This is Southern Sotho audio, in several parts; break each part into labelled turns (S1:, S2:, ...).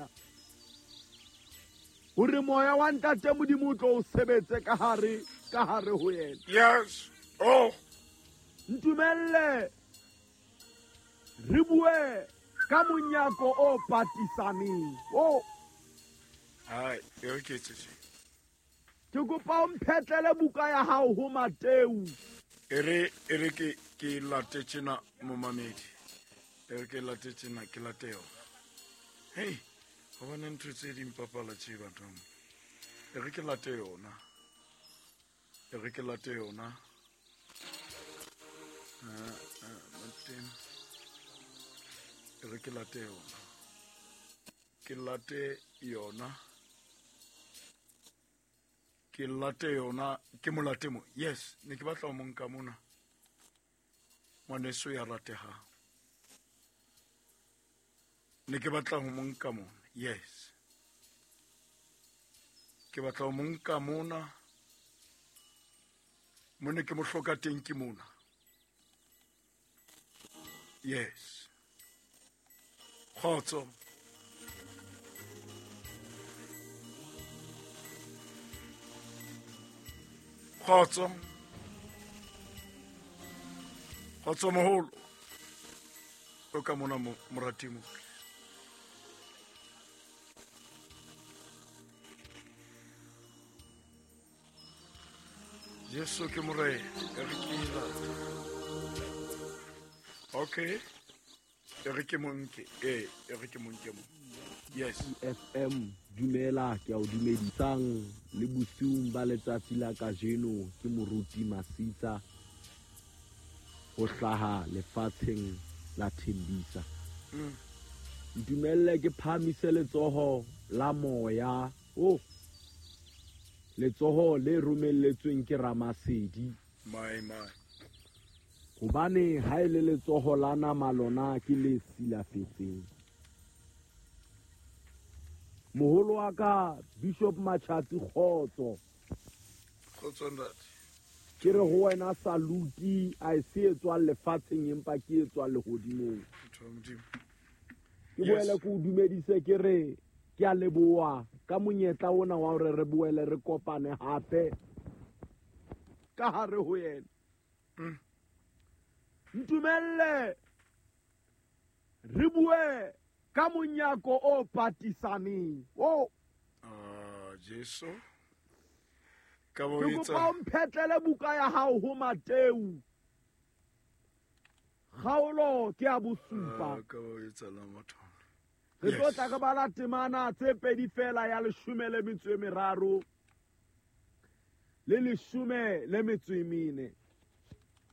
S1: yena. Hore moya wa Ntate Modimo o tlo o sebetse ka hare ho yena.
S2: Yes. Oh.
S1: Ntumelle re bue ka monyako o patisaneng. Oh.
S2: Hai, e re ke etse tje.
S1: Ke kopa o mphetlele buka ya hao ho Mateu.
S2: E re ke late tjena momamedi. E re ke late tjena, ke late yona. Hey, hobane ntho tse di mpapala tje bathong. E re ke late yona. E re ke late yona. Mateu. E re ke late yona. Ke late yona. Ke late yona, ke molate mo. Yes, ne ke batla ho mo nka mona. Ngwaneso ya ratehang. Ne ke batla ho mo nka mona. Yes. Ke batla ho mo nka mona. Mone ke mo hloka teng ke mona. Yes. Kgotso. Kgotso. Kgotso moholo. O ka mona morati mo. Jesu ke morena, e re ke late. Okay. E re ke monke, e re ke monke mo. Yes.
S1: FM dumela, ke a o dumedisang le bosiung ba letsatsi la kajeno. Ke moruti Masitsa ho hlaha lefatsheng la Thembisa. Ntumelle ke phahamise letsoho la moya. Oh. Letsoho le romelletsweng ke Ramasedi.
S2: My my.
S1: Hobane ha e le letsoho la nama lona ke le silafetseng. Moholo wa ka Bishop Machatsi, kgotso.
S2: Kgotso ntate.
S1: Ke re ho wena saluti a e se etswang lefatsheng empa ke etswang lehodimong. Ke boele ke o dumedise ke re ke a leboha ka monyetla ona wa hore re boele re kopane hape ka hare ho yena. Ntumelle re bue ka monyako o patisaneng. Oh.
S2: Jesu. Ka bo
S1: Ke
S2: etsa.
S1: kopa o mphetlele buka ya hao ho Mateu. Kgaolo ke ya bosupa.
S2: Ka bo etsa la motho.
S1: Re tlo tla re bala temana tse pedi fela ya 13 le 14.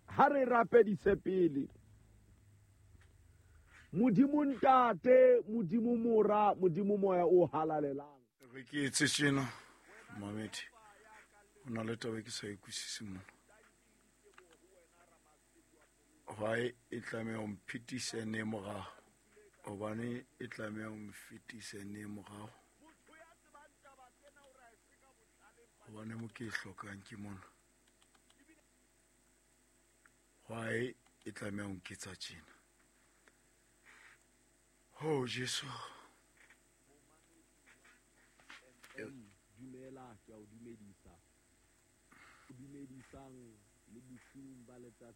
S1: Ha re rapedise pele. Modimo Ntate, Modimo Mora, Modimo Moya o halalelang.
S2: Re ke etse tjena, Mamedi. Ho na le taba ke sa e utlwisise mona. Why e tlameha ho mphitise ne morao? Hobane e tlameha ho mfetise ne morao. Hobane mo ke e hlokang ke mona. Why e tlameha ho nketsa tjena? Oh Jesu.
S1: Dumela, ke a o dumedisa. O dumedisang le bosiung ba letsatsi.